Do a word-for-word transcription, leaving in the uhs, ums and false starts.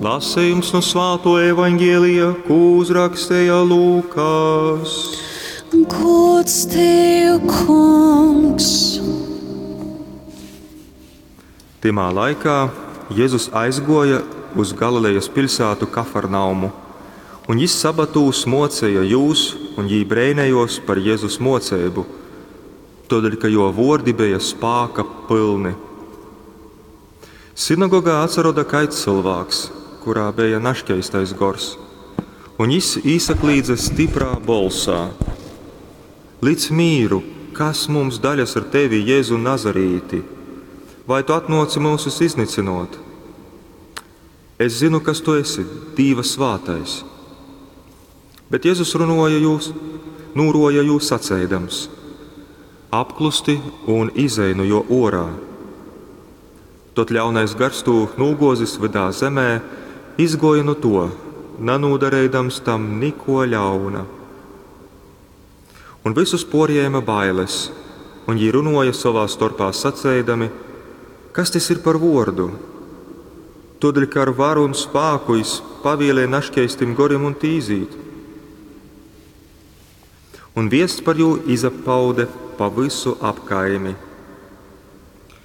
Lasejums nu Svātuo Evaņgelija, kū uzraksteja Lūkas. Gods tev, Kungs! Tymā laikā Jezus aizguoja uz Galilejas piļsātu Kafarnaumu, un jis sabatūs muoceja jūs, un jī breinejuos par Jezus muoceibu, tuodeļ ka juo vuordi beja spāka pylni. Sinagogā atsaroda kaids cylvāks, kurā beja naškeistais gors, un jis īsaklīdze stiprā bolsā: Lic mīru, kas mums daļas ar tevi, Jezu Nazarīti? Vai tu atnōci myusus iznycynōt? Es zynu, kas tu esi, Dīva svātais. Bet Jezus runuoja jūs, nūruoja jū saceidams: Apklusti un izej nu juo uorā. Tod ļaunais gars tū nūguozis vydā zemē, izguoja nu tuo, nanūdareidams tam nikuo ļauna. Un vysus puorjēma bailes, un jī runuoja sovā storpā saceidami: Kas tys ir par vuordu? Tuodeļ, ka ar varu un spāku jis pavielej naškeistim gorim un tī izīt. Un viests par jū izapaude pa vysu apkaimi.